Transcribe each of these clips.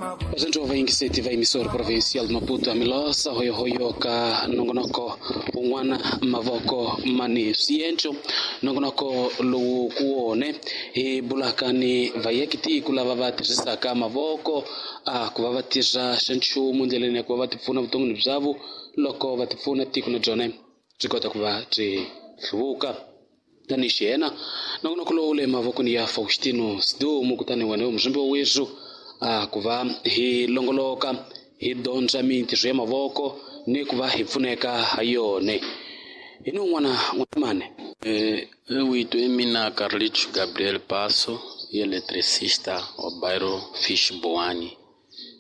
Vatsontswa va yingiseti va emisoro provincial Maputo Amilosa hoyohoyo ka nongonoko wun'wana mavoko mani swienco nongonoko lowu ku wone hi bulaka ni vayakitiko lava va tirhisaka mavoko a ku va va tirha xanchumu ndleleni ya ku va va tipfuna vuton'wini byavo loko va tipfuna tiko na byona byi kota ku va byi hluvuka tanihi xiyena nongonoko lowu le mavokweni ya Faustino Sidumo kutani wena muzvimbi wa wethu a ku va hi longoloka hi dyondza mintirho ya mavoko ni ku va hi pfuneka ha yone hi ni un'wana n'wamane. Eu é mina Carlitos Gabriel Passo, eletricista wa bairro Fish Boane.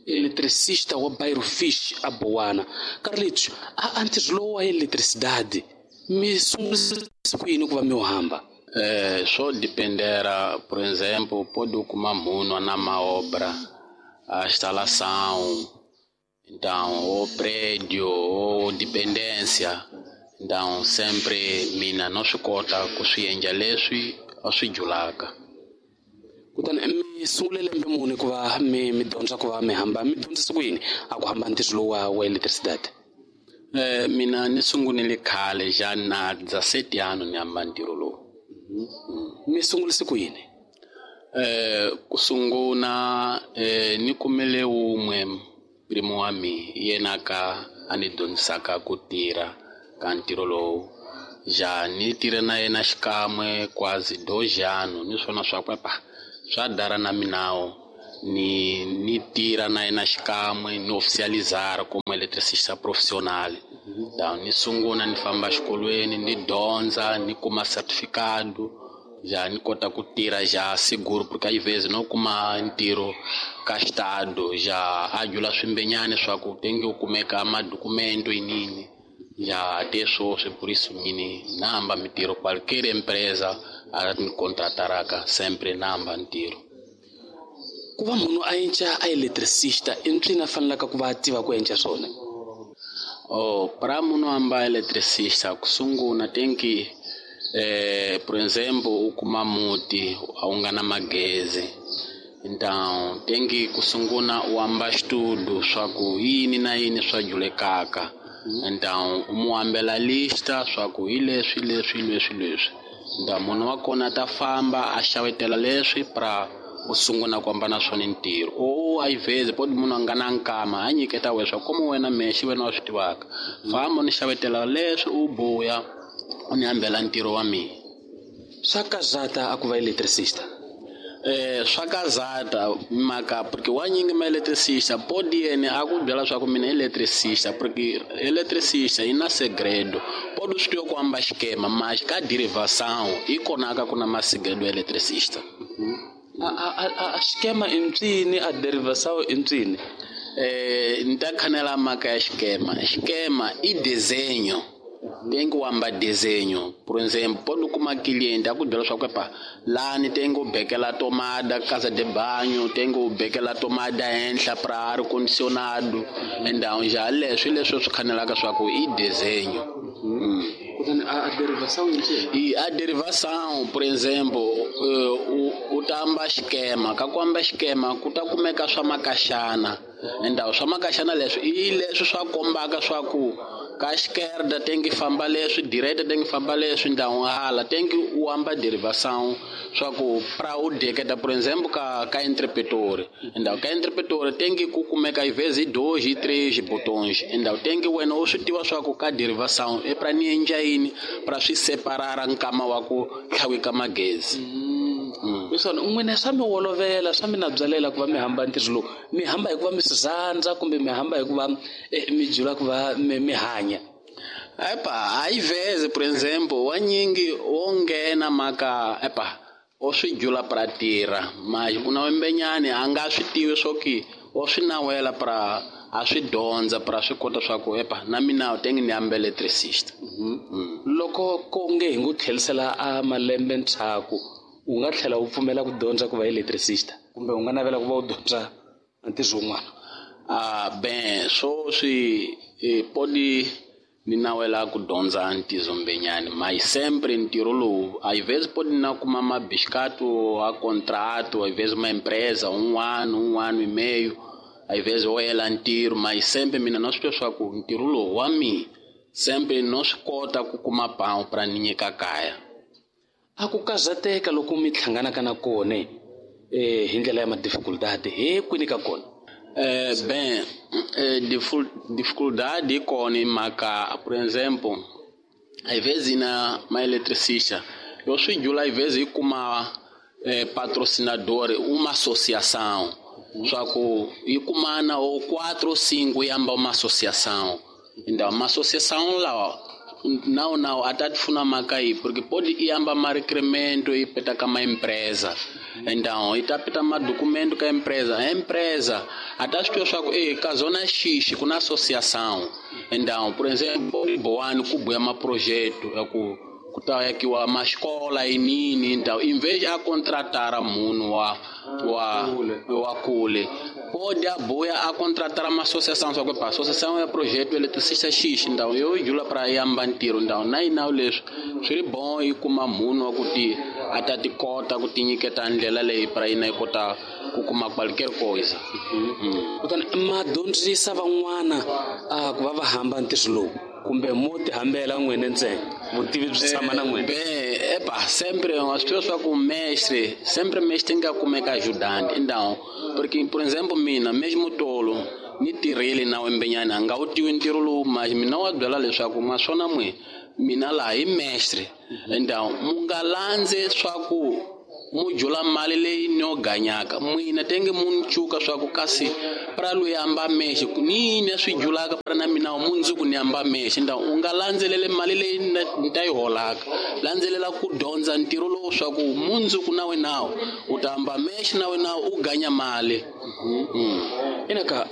Eletricista wa bairro Fish a Boana. Carlitos, a ntirho lowu wa eletricidade mi sungulisa ku yini ku va mi wu hamba? Swo dependera, por exemplo, pode kuma munhu na maobra, a instalação, então o prédio, ou dependência. Então sempre mina no swi kota ku swi endla leswi a swi julaka. Kutani mi sungule lembe muni ku va mi dyondza ku va mi hamba mi dyondzisa ku yini a ku hamba ntirho lowu wa electricity? Mina ni sungurile khale ja na 17 anos ni hamba ntirho lowu. Mi sungulise ku yini? Ku sungula ni kumile wun'we primo wa mina yena ka a ni dyondzisaka ku tirha ka ntirho lowu. Ja ni tirhe na yena xikan'we quase 2 anos ni swona swa ku epa swa dara na minawo ni tirha na yena xikan'we ni oficializar como eletricista profissional. Então ni sungula ni famba xikolweni ni dyondza ni kuma certificado ja ni kota ku tirha ja seguro porque às vezes no kuma ntirho ka estado ja a jula swimbenyani swa ku tenge u kumeka madocumento yinini ja até sweswi por isso mini namba mintirho qualquer empresa a ni contrataraka sempre namba ntirho. Ku va munhu a enca a electricista i ncini a fanelaka ku va a tiva ku enca swona? Oh, para munhu a amba electricista ku sungula tem que por exemplo u kuma muti a wu nga na magezi, então tem que ku sungula u amba estudo swa ku yini na yini swa julekaka. Então u mu ambela lista swa ku hi leswi leswi leswi leswi. Então munhu wa kona ta famba a xavetela leswi pra u sungula ku hambana swona ntirho. Ou às vezes pode munhu a nga na nkama a nyiketa wena swa como wena mexi wena wa swi tivaka. Famba ni xavetela leswi u buya u ni hambela ntirho wa mina. Swa kazata a ku va electricista? Swa kazata mhaka porque wa nyingi ma electricista pode yena a ku byela swa ku mina electricista porque electricista yi na segredo. Pode swi tiva ku amba xikema mas ka derivação yi kona ka ku na masegredo ya electricista. A xikema i ncini a derivação i ncini? Ni ta khanela mhaka ya xikema. Xikema i desenho. Tem que amba desenho. Por exemplo, pode kuma cliente a ku byela swa ku epa lani tem que bekela tomada casa de banho, tem que bekela tomada henhla pra ar condicionado. Então já leswi leswi swi khanelaka swa ku i desenho. Kutani a derivação i ncini? I a derivação, por exemplo, u ta amba xikema. Ka ku amba xikema ku ta kumeka swa makaxana. Então swa makaxana leswi i leswi swa kombaka swa ku ka esquerda tem que famba leswi, direita tem que famba leswi, então hala tem que u amba derivação swa ku pra u deketa, por exemplo, ka interpretor. Então ka interpretor tem que ku kumeka às vezes 2, 3 botões. Então tem que wena u swi tiva swa ku ka derivação é pra ni endla yini pra swi separara nkama wa ku tlhawika magezi. Leswaku n'wina swa mi olovela swa mi na byalela ku va mi hamba ntirho lowu mi hamba hi ku va mi swi rhandza kumbe mi hamba hi ku va mi jula ku va mi hanya? Epa, às vezes, por exemplo, wa nyingi wo nghena mhaka epa o swi jula pra tirha, mas ku na wembenyani a nga swi tivi swo ki o swi nawela pra a swi dyondza pra swi kota swa ku epa na mina tenge ni hamba electricista. Loko ko nge hi ngo tlherisela a malembe ndzhaku u nga tlhela u pfumela ku dyondza ku va electricista kumbe u nga navela ku va u dyondza ntirho wun'wana? Ben swoswi podi ni nawela ku dyondza ntirho mbenyani, mas sempre ntirho lowu às vezes pode na kuma mabiscato a contrato, às vezes uma empresa 1 ano, 1 ano e meio. Às vezes wo hela ntirho mas sempre mina no swi twa swa ku ntirho lowu wa mina sempre no swi kota ku kuma pão pra ni nyika kaya. A ku karhateka loko mi hlanganaka na kona hi ndlela ya ma-dificuldade he kwini ka kona? Bem, dificuldade yi kona hi mhaka, por exemplo, às vezes na ma eletricista eu swi jula, às vezes yi kuma patrocinador, uma associação, só que yi kumana ou 4 ou 5 yi amba uma associação. Então uma associação lá não não até te funa maka aí, porque pode ir amba ma requerimento e peta com uma empresa. Então e tá peta ma documento com a empresa, a empresa até as pessoas que ka zona X com associação. Então, por exemplo, boano ku buya ma projeto ya ku ta yakiwa ma escola e nini. Então, em vez de a contratar munhu wa kule, pode a boia a contratar uma associação, só que a associação é projeto eletricista X. Então eu jula para yamba ntirho. Então na ina leswi swi ri bom yi kuma munhu wa ku ti a ta ti kota ku ti nyiketa ndlela leyi para yina yi kota ku kuma qualquer coisa. Kutani ma dyondzisa van'wana ku va va hamba ntirho lowu kumbe mo ti hambela n'wina ntsena, vutivi byi tshama na n'wina? Bem, epa, sempre as pessoas falam com mestre, sempre mestre tem que kumeka ajudante. Então, porque, por exemplo, mina, mesmo tolo, ni tirhile na wembenyana, nga wu tivi ntirho lowu, mas mina wa byela leswaku maswona n'we, mina laha hi mestre. Então, mu nga landze swa ku mu jula mali leyi ni yo ganyaka n'wina tenge mu ni cuka swa ku kasi pra loyi amba mexe ni yini swi julaka pra na mina mundzuku ni amba mexe. Então u nga landzelele mali leyi ni ta yi holaka, landzelela ku dyondza ntirho lowu swa ku mundzuku na wena u ta amba mexe na wena u ganya mali. Inaka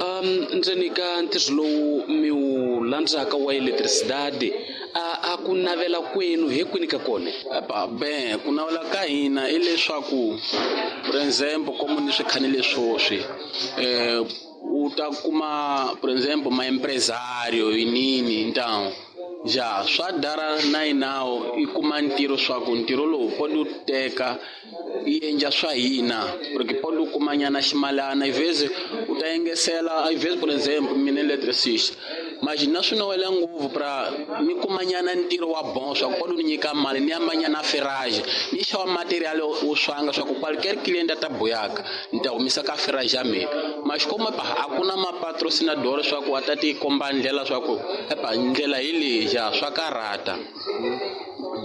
ndzeni ka ntirho lowu mi wu landzaka wa eletricidade, a ku navela kwenu he kwini ka kona? Epa, bem, ku navela ka hina i leswaku, por exemplo, como ni swi khanile swoswi, u ta kuma, por exemplo, ma empresário e nini. Então já swa dara na inawo i kuma ntirho swa ku ntirho lowu pode u teka i endla swa hina, porque pode u kuma nyana ximalana, às vezes u ta engesela, às vezes, por exemplo, mina eletricista, mas na swi nowela ngopfu pra ni kuma nyana ntirho wa bon swa ku pode u ni nyika mali ni amba nyana ferrage ni xava material wo swanga swa ku qualquer cliente a ta buyaka ni ta humisa ka ferrage ya mina. Mas como epa a ku na mapatrocinador swa ku a ta ti komba ndlela swa ku epa ndlela hi leyi ja swa karhata.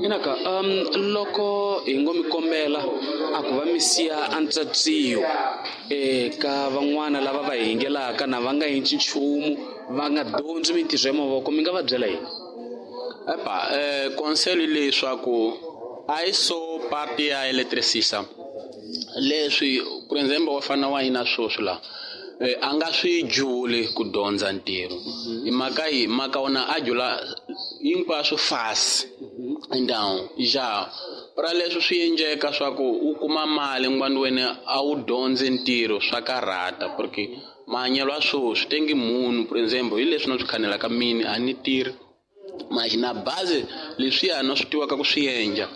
Inaka loko hi ngo mi kombela a ku va mi siya antsatsiyo ka van'wana lava va hi yingelaka na va nga endli nchumu, va nga dyondzi mintirho ya mavoko, mi nga va byela yini? Epa, conselho leswaku a yi so parte ya eletricista leswi, por exemplo, wa fana wa hina swoswi la a nga swi juli ku dyondza ntirho hi mhaka yi mhaka wona a jula hinkwaswo fasi. Então ja pra leswi swi endleka swa ku u kuma mali n'wana wena a wu dyondzi ntirho swa karhata, porque mahanyelo ya swoswi tengi munhu, por exemplo, hi leswi na swi khanelaka mini a ni tirhi, mas na base leswiya no swi tivaka ku swi endla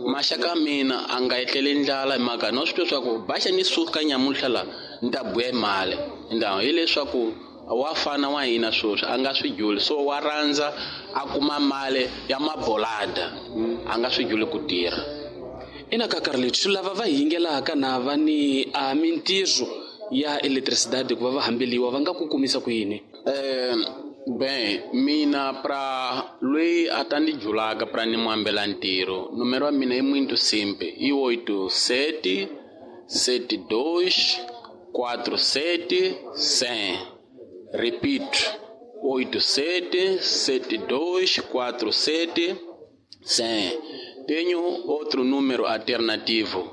maxaka mina a nga etleli ndlala hi mhaka no swi tiva swa ku baxa ni suka nyamuntlha la ni ta buya mali. Então hileswaku wa fana wa hina swoswi a nga swi juli, so wa rhandza a kuma mali ya mabolada, a nga swi juli ku tirha. Ina ka Carlitos, lava va yingelaka na va ni a mintirho ya eletricidade ku va va hambeliwa va nga ku kumisa ku yini? Bem, mina pra loyi a ta ni julaka pra ni mu hambela ntirho, numero wa mina i muito simple, i 87 72 47 100. Repito, 87 72 47 100. Tenho outro número alternativo,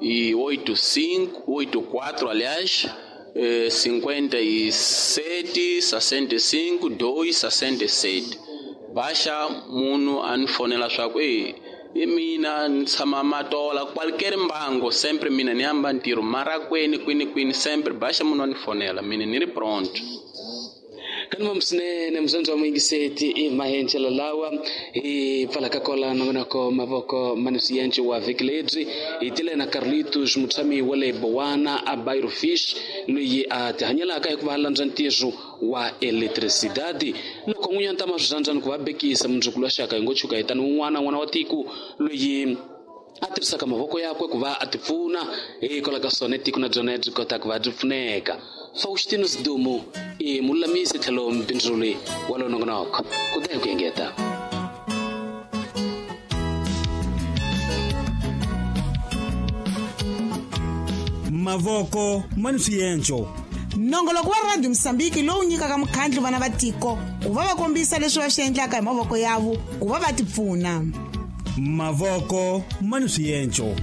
e 85 84, aliás, 57 65 2 67. Baixa munhu a ni fonela swa ku i mina ni tshama Matola, qualquer mbango, sempre mina ni hamba ntirho mara kwini kwini kwini, sempre baixa munhu a ni fonela mina ni ri pronto. Kanima swinene muzandzi wa muyingiseti i mahencelo lawa hi pfalaka kola nongonoko mavoko mani swiyenci wa vhiki lebyi hi tile na Carlitos, mutshami wa le Bowana a Bairro Fish, loyi a tihanyelaka hi ku va landza ntirho wa electricidade. Loko n'winyi a ni ta ma swi ku va bekisa mundzuku lwa xaka hi ngo tshuka hi tani wun'wana n'wana wa tiko loyi a tirhisaka mavoko yakwe ku va a ti pfuna, hikwalaho ka swona tiko na byona byi kota ku va byi pfuneka. Faustino Sidumo i mululamisi tlhelo mbindzuli wa lo nongonoko ku ta hi ku engeta. Mavoko ma ni swienco. Nongoloko wa Radio Mosambiki lowu nyikaka mukhandlu vana va tiko ku va va kombisa leswi va swi endlaka hi mavoko yavo ku va va tipfuna. Mavoko ma ni swienco.